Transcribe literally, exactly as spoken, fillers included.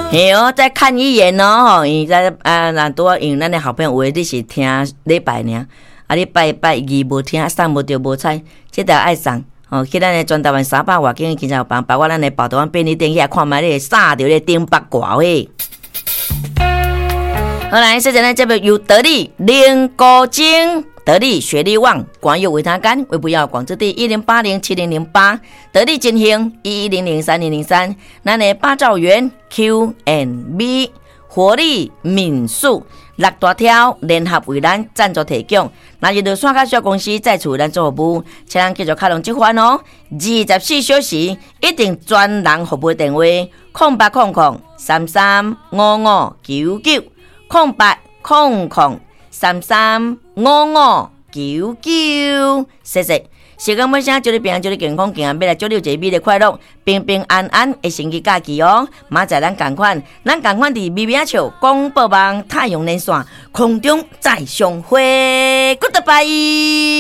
嘿哦，再看一眼哦，吼，伊在啊，若拄仔因為咱的好朋友有的你是聽禮拜爾，啊，你拜拜二無聽，送無著無彩，這條愛送。哦，去咱的全台灣三百外間警察房，包括咱的寶台灣便利店去看覓你會送著咧頂北掛貨。好來，現在呢，這邊由得力林國晶、得力雪力旺、廣有維他乾、微不要廣州地一零八零七零零八，得力金興一一零零三零零三，咱的八兆元 Q and B 活力民宿六大條聯合為咱贊助提供，那就熱線卡小公司再次為咱做服務，請咱繼續敲攏這番哦，二十四小時一定專人服務電話：空八空空三三五五九九。空八空空三三五五九九，謝謝。時間尾聲，祝你平安，祝你健康，健康，欲來祝你有一个美麗快樂、平平安安的星期假期哦。明仔載咱仝款，咱仝款佇微微仔笑廣播網太陽連線空中再相會，Goodbye。